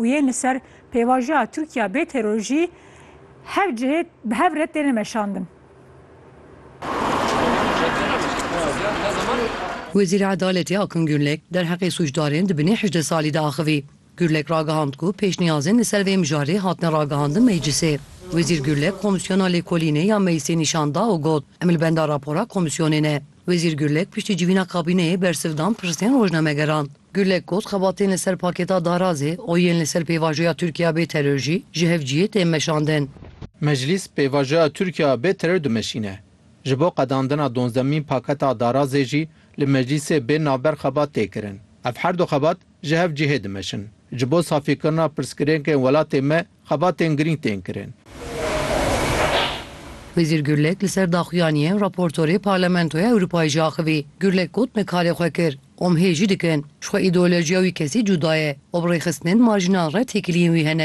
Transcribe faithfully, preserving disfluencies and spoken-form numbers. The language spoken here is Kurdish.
û yên li ser pêvajoya Tirkiya bê teror jî hev cihê bi hev re têne meşandin. Wezîrê Edaletê Akın Gürlek derheqê sûcdarên di binê hejdeh salî de axivî. Gürlek ragihand ku pêşniyazên li ser vê mijarê hatine ragihandin meclisê. Wezîr Gürlek Komîsyona Lêkolînê ya Meclisê nîşan da û got, Em li benda rapora komîsyonê ne. Wezîr Gürlek piştî civîna kabîneyê bersiv dan pirsên rojnamegeran. Gürlek got, Xebatên li ser pakêta darazê û yên li ser pêvajoya Tirkiya bê teror jî ji hev cihê tên meşandin. Meclîs pêvajoya Tirkiya bê teror dimeşîne. Ji bo qedandina duwazdehemîn paketa darazê jî li meclîsê bê navber xebat tê kirin. Ev her du xebat ji hev cihê dimeşin. Ji bo safîkirina pirsgirêkên welatê me xebatên girîng tên kirin. Wezîr Gürlek li ser daxuyaniyên raportorê Parlamentoya Ewropayê jî axivî. Gürlek got, Me karê xwe kir. Û em hê jî dikin. Ji xwe îdeolojiya wî kesî cuda ye. Û bi rêxistinên marjînal re têkiliyên wî hene.